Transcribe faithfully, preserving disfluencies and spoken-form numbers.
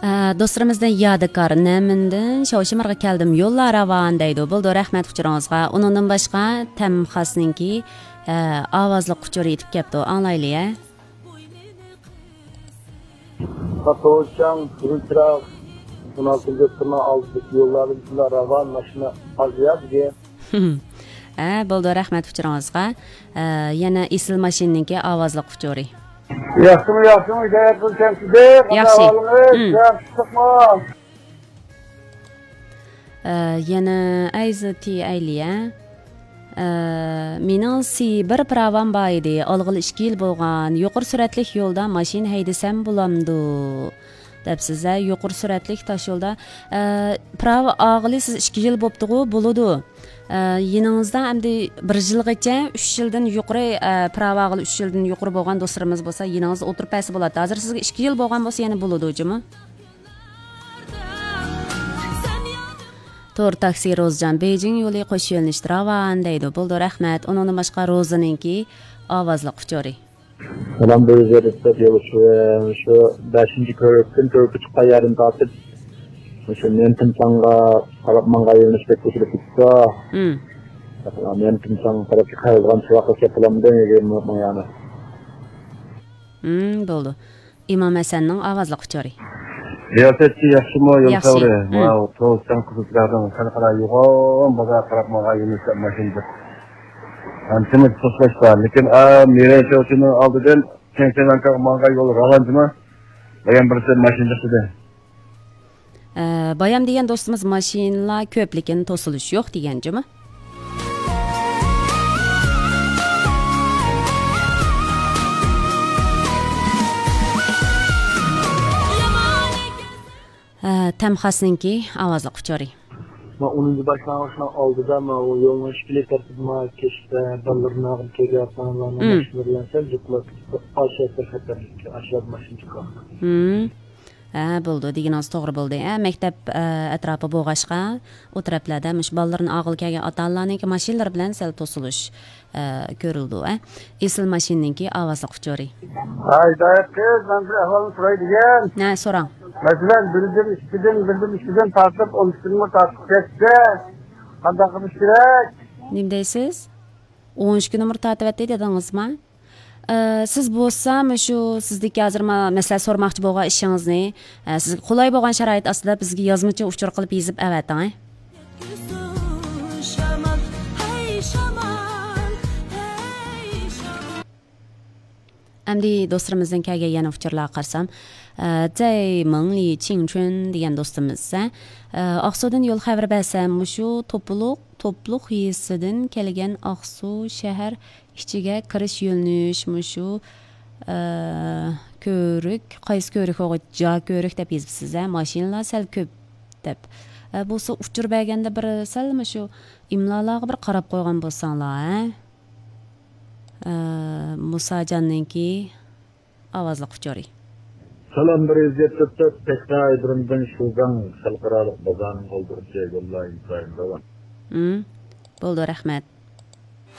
ئە، دوستلىرىمىزدىن يادىكار نەمىندىن شاۋشىمارغا كەلدىم، يوللار راۋان دەيدۇ. بولىدۇ، رەھمەت ئۇچۇرىڭىزغا. ئۇنىڭدىن باشقا تەم خاسنىڭكى، ئە، ئاۋازلىق ئۇچۇرى يېتىپ كەپتۇ. ئاڭلايلى، ھە. ساتوچاڭ، تۈركراق، ئون ئالتىنچى دوختۇرنىڭ ئالدىدىكى يوللاردا شۇنداق راۋان ماشىنا ئاز يا بۈگۈن. ھە، بولىدۇ، رەھمەت ئۇچۇرىڭىزغا. ئە، يەنە ئېسىل ماشىنىنىڭكى ئاۋازلىق ئۇچۇرى. ياخشىمۇ، ياخشىمۇ، ھىدايەت قىلسام سىزدىك. قانداق ياخشى. ئەھۋالىڭىز؟ ياخشىلىقمۇ؟ ئە، يەنە ئەيزى تى ئەيلىيە. ئە، مېنىڭ سى بىر پىراۋام بار ئىدى. ئالغىلى ئىككى يىل بولغان. يۇقىرى سۈرئەتلىك يولدا ماشىنا ھەيدىسەم بولامدۇ؟ دەپسىز، ھە، يۇقىرى سۈرئەتلىك تاش يولدا. ئە، پىراۋا ئالغىلى سىز ئىككى يىل بوپتىغۇ، بولىدۇ. ئە، يېنىڭىزدا ئەمدى بىر يىلغىچە، ئۈچ يىلدىن يۇقىرى، ئە، پىراۋا ئالغىلى ئۈچ يىلدىن يۇقىرى بولغان دوستلىرىمىز بولسا، يېنىڭىزدا ئولتۇرۇپ بەرسە بولاتتى. ھازىر سىزگە ئىككى يىل بولغان بولسا، يەنە بولىدۇ، جۇمۇ. تور تاكسى روزىجان، بېيجىڭ يولى قوش يۆنىلىشتە راۋان دەيدۇ. بولىدۇ، رەھمەت. ئۇنىڭدىن باشقا روزىنىڭكى ئاۋازلىق ئۇچۇرى. سالام، بىر يۈز يەتتە يول شۇ، شۇ بەشىنچى كۆۋرۈكتىن، كۆۋرۈككە چىققان يەردىن تارتىپ، مۇشۇ نيەنتىڭچاڭغا قاراپ ماڭغان يۆنىلىشتەك قوشۇلۇپ كېتىپتۇ. ھىم. نيەنتىڭچاڭغا قاراپ قايرىلغان چىراغقا كەپ بولامدۇ، يىگىرمە مىنۇت ماڭا يەنە. ھىم، بولىدۇ. ئىمام ھەسەننىڭ ئاۋازلىق ئۇچۇرى. رىياسەتچى ياخشىمۇ، يول ياخشى. سەۋرى؟ ھىم. ماۋۇ توسچاڭ قىزىلچىراغدىن خەلقئارا يوغان بازار قاراپ ماڭغان يۆنىلىشتە ماشىنا بار. ئانچىمۇ توسۇلۇش بار. لېكىن، ئا، مىرەن چوچىنىڭ ئالدىدىن چېڭچىلانكاغا ماڭغان يول راۋان جۇمۇ. بايام بىرسى ماشىنا چىقتى. ئە، بايام دېگەن دوستىمىز ماشىنىلار كۆپ، لېكىن توسۇلۇش يوق دېگەن جۇمۇ. ئە، تەمخاسنىڭكى ئاۋازلىق ئۇچۇرى. مانا ئونىنچى باشلانغۇچنىڭ ئالدىدا، مانا ئۇ يولنىڭ ئىككىلى تەرىپىدە، مانا كەچتە بالىلىرىنى ئېلىپ كېلىۋاتقانلارنىڭ مم. ماشىنىلىرى بىلەن سەل جىقلاپ كېتىپ، ئاشۇ يەر خەتەرلىك، ئاشۇ يەردە ماشىنا چىقىۋاتقان. مم. ھە، بولىدۇ، دېگىنىڭىز توغرا بولدى. ھە، مەكتەپ، ئە، ئەتراپى بولغاچقا، ئۇ تەرەپلەردە مۇشۇ بالىلىرىنى ئالغىلى كەلگەن ئاتا-ئانىلارنىڭكى ماشىنىلىرى بىلەن سەل توسۇلۇش، ئە، كۆرۈلىدۇ، ھە. ئېسىل ماشىنىنىڭكى ئاۋازلىق ئۇچۇرى. ھە، ھىدايەت قىز، مەن بىر ئەھۋالنى سوراي دېگەن. ھە، سوراڭ. مەسىلەن، بىردىن ئىككىدىن، بىردىن ئىككىدىن تارتىپ ئون ئىككى نومۇر تارتىپ كەتسە، قانداق قىلىش كېرەك؟ نېمە دەيسىز؟ ئون ئىككى نومۇر تارتىۋەتتى دېدىڭىزما؟ ئە، سىز بولسا مۇشۇ سىزدىكى ھازىر ما-، مەسىلەن، سورىماقچى بولغان ئىشىڭىزنى، ئە، سىزگە قولاي بولغان شارائىت ئاستىدا بىزگە يازمىچە ئۇچۇر قىلىپ يېزىپ ئەۋەتىڭ، ھە. ئەمدى دوستلىرىمىزدىن كەلگەن يەنە ئۇچۇرلارغا قارىسام، ئە، جەي مىڭلى چىڭچۈن دېگەن دوستىمىز، ئە، ئاقسۇدىن يول خەۋىرى بەرسەم، مۇشۇ توپىلىق، توپلۇق يېزىسىدىن كەلگەن ئاقسۇ شەھەر ئىچىگە كىرىش يۆنىلىش مۇشۇ، ئە، كۆۋرۈك، قايسى كۆۋرۈك بولغۇچ، جا كۆۋرۈك دەپ يېزىپسىز، ھە، ماشىنىلار سەل كۆپ دەپ. ئە، بولسا ئۇچۇر بەرگەندە بىر سەل مۇشۇ ئىملالارغا بىر قاراپ قويغان بولساڭلار، ھە. ئە، مۇساجاننىڭكى ئاۋازلىق ئۇچۇرى. سالام، بىر يۈز يەتتە تۆت، تەكرار ئايرودرومدىن شۇگاڭ خەلقئارالىق بازارنىڭ ئالدىغىچە يوللار ئىنتايىن راۋان. ھىم، بولىدۇ، رەھمەت.